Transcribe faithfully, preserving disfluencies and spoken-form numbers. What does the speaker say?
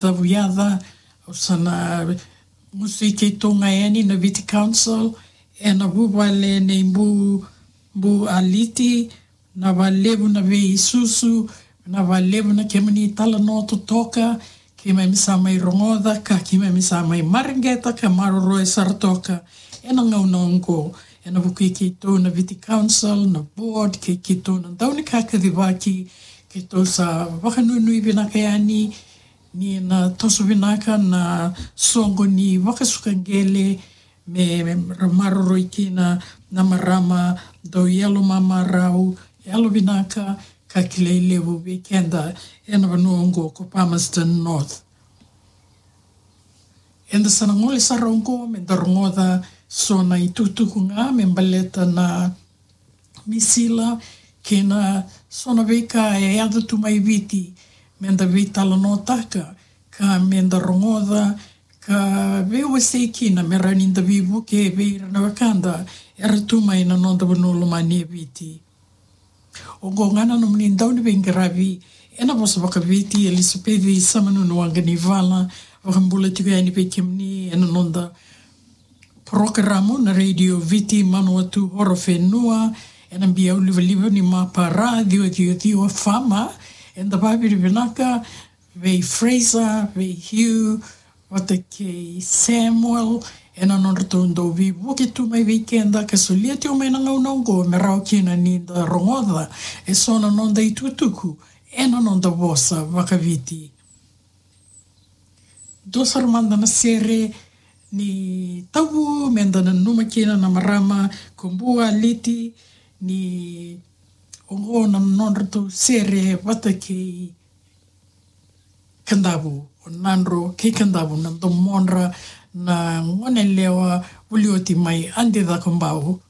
Cavuyaca, au sa na musu i keitou ga yani na Viti Council, ena vuvale nei Bu, Bu Aliti, na valevu na veisusu, na valevu na kemuni talanoa totoka, keimami sa mai rogoca, ka keimami sa mai mareqeta, ka maroroya sara toka, ena gauna oqo, ena vuku i keitou na Viti Council, na board, kei keitou na dau ni kakacivaki, keitou sa vakanuinui vinaka yani, ni na toso vinaka na soqo ni vakasuka qele, me, me ra maroroi kina na marama dau yalo mamarau, yalo vinaka, ka kilai levu vei keda, ena vanua oqo ko Palmerston North. Eda sa na gole sara oqo, me da rogoca so na itukutuku ga, me baleta na misila, kei na so na veika e yaco tu mai Viti, me da veitalanoataka, ka me da rogoca, ka veiwasei kina, me rawa ni da veivuke vei ira na wekada era tu mai na noda vanua lomani e Viti. Oqo ga na nomuni dau ni veiqaravi, ena vosa vakaViti, Elisapeci Samanunu Waqanivala, vakabula tiko yani vei kemuni, ena noda porokaramu na Radio Viti Manawatu Horowhenua, ena biau livaliva ni Mapara, ciwa ciwa ciwa FM, eda vakavinavinaka vei Fraser, vei Hugh, vata kei Samuel, ena nodratou dau veivuke tu mai vei keda, ka solia tiko mai na gauna oqo, me rawa kina ni da rogoca, e so na noda itukutuku, ena noda vosa vakaViti. Dua sara mada na sere ni tavu, me da nanuma kina na marama ko Bu Aliti, ni oqo na nodratou sere vata kei Kadavu, o Nadro kei Kadavu, na domodra na gonelewa vuli oti mai Adi Cakobau.